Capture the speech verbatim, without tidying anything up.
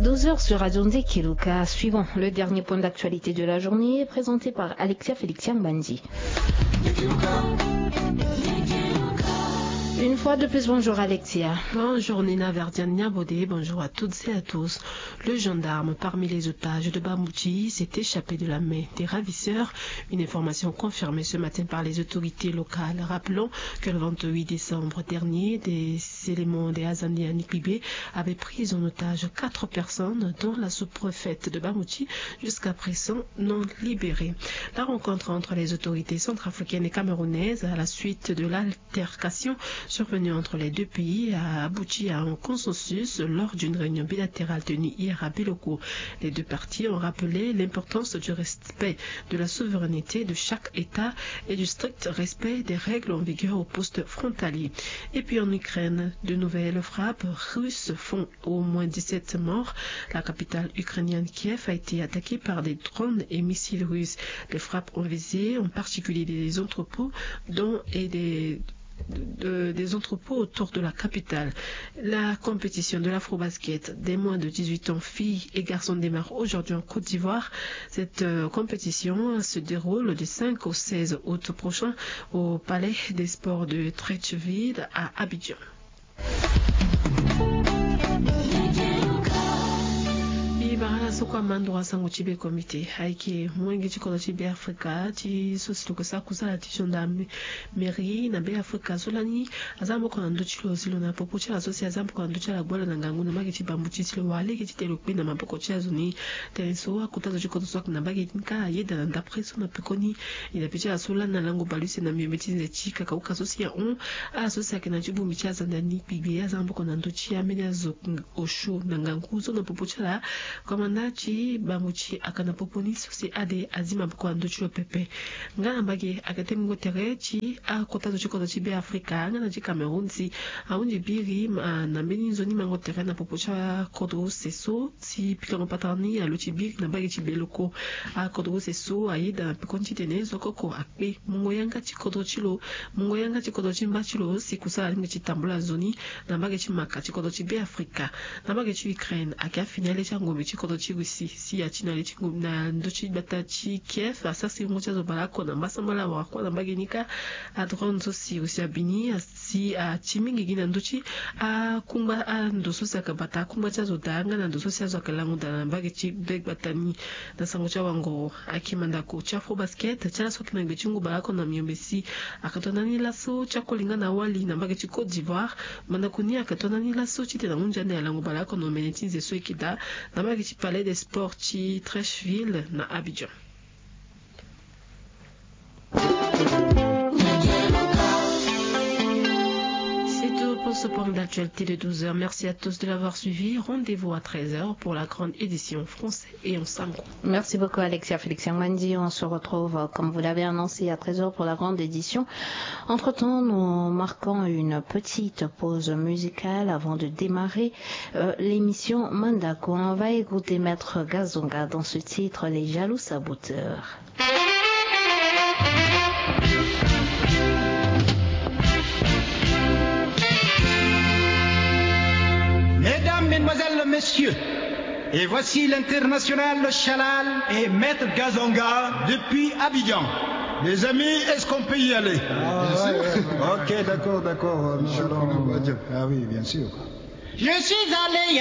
Douze heures sur Radio Ndekeluka. Suivons le dernier point d'actualité de la journée, présenté par Alexia Félix Yangbanzi. Une fois de plus, bonjour Alexia. Bonjour Nina Verdiane Niabodé, bonjour à toutes et à tous. Le gendarme, parmi les otages de Bamouti, s'est échappé de la main des ravisseurs. Une information confirmée ce matin par les autorités locales. Rappelons que le vingt-huit décembre dernier, des éléments des Azande à Nikbibé avaient pris en otage quatre personnes, dont la sous-préfète de Bamouti, jusqu'à présent non libérée. La rencontre entre les autorités centrafricaines et camerounaises à la suite de l'altercation survenue entre les deux pays a abouti à un consensus lors d'une réunion bilatérale tenue hier à Biloko. Les deux parties ont rappelé l'importance du respect de la souveraineté de chaque État et du strict respect des règles en vigueur au poste frontalier. Et puis en Ukraine, de nouvelles frappes russes font au moins dix-sept morts. La capitale ukrainienne Kiev a été attaquée par des drones et missiles russes. Les frappes ont visé en particulier des entrepôts dont et des de- des entrepôts autour de la capitale. La compétition de l'afrobasket des moins de dix-huit ans, filles et garçons, démarre aujourd'hui en Côte d'Ivoire. Cette euh, compétition se déroule du cinq au seize août prochain au Palais des Sports de Treichville à Abidjan. Mbi bara na so kue amandro asango ti be comité ayeke molenge ti kodro ti be afrika ti so si lo yeke sara kusala ti gendarmerie na be afrika so lani aza maboko na ndö ti lo si lo na popo ti ala so si aza maboko na ndö ti ala agbu ala na ngangu na mbage ti Bamouti si lo wara lege titene lo kpe na maboko ti azo ni. Tënë so akota zo ti kodro so ayeke na mbage ni kâ ayeda na ndapre so na pekoni. E na pe ti ala so lani na lango baleuse na miombe ti nze ti kakauka so si ahon ala so si ayeke na ti bongbi ti Azande ni kpigbe aza maboko na ndö ti ambeni azo osio na ngangu so na popo ti ala. Komanda ti Bamouti ayeke na popo ni so si ade azi maboko na ndö ti lo pepe. Nga na mbage ayeke tengbingo tere ti akota zo ti kodro ti be afrika nga na ti Cameroun si ahunzi biri ma na mbeni nzoni mango tere na popo ti akodro use so si pikango patara ni alo ti biri na mbage ti Biloko. Akodro use so ayeda na pekoni titene zo koko akpe mungo yanga ti kodro ti lo, mungo yanga ti kodro ti mba ti lo si kusala alingbi ti tambula nzoni na mbage ti maka ti kodro ti be afrika. Na mbage ti Ukraine ayeke afini ale ti angombe ti kodro ti Russie si ati na le ti ngombe na ndö ti gbata ti Kiev asara si ngu ti azo baleoko na mbasambala wala kue na mbage ni kâ. Adrone so si Russie abi ni asi ati mingi gi na ndö ti akungba ando so si ayeke bata akungba ti azo daa nga na ndo so si azo ayeke lango daa na mbage ti be gbata ni. Na sango ti awangoro ayeke mandako ti afrobasket ti ala so ayeke na ngbe ti ngu baleoko na miombe si ayeke to ndani laso ti akoli nga na awali na mbage ti Côte d'Ivoire. Mandako ni ayeke to ndani laso titene ahunzi ande alango baleoko na omene ti nze so e yeke daa na mbage ti Palais des Sports ti Treichville na Abidjan. C'est tout pour ce point d'actualité de douze heures. Merci à tous de l'avoir suivi. Rendez-vous à treize heures pour la grande édition Français et en Sango. Merci beaucoup, Alexia Félix Yangbanzi. On se retrouve, euh, comme vous l'avez annoncé, à treize heures pour la grande édition. Entre-temps, nous marquons une petite pause musicale avant de démarrer, euh, l'émission Mandako. On va écouter Maître Gazonga dans ce titre, Les Jaloux Saboteurs. Mesdames, Mesdemoiselles, Messieurs, et voici l'international Shalal et Maître Gazonga depuis Abidjan. Les amis, est-ce qu'on peut y aller? Ah, ouais, ouais, ouais. Ok, d'accord, d'accord, euh, monsieur le... Ah oui, bien sûr. Je suis allé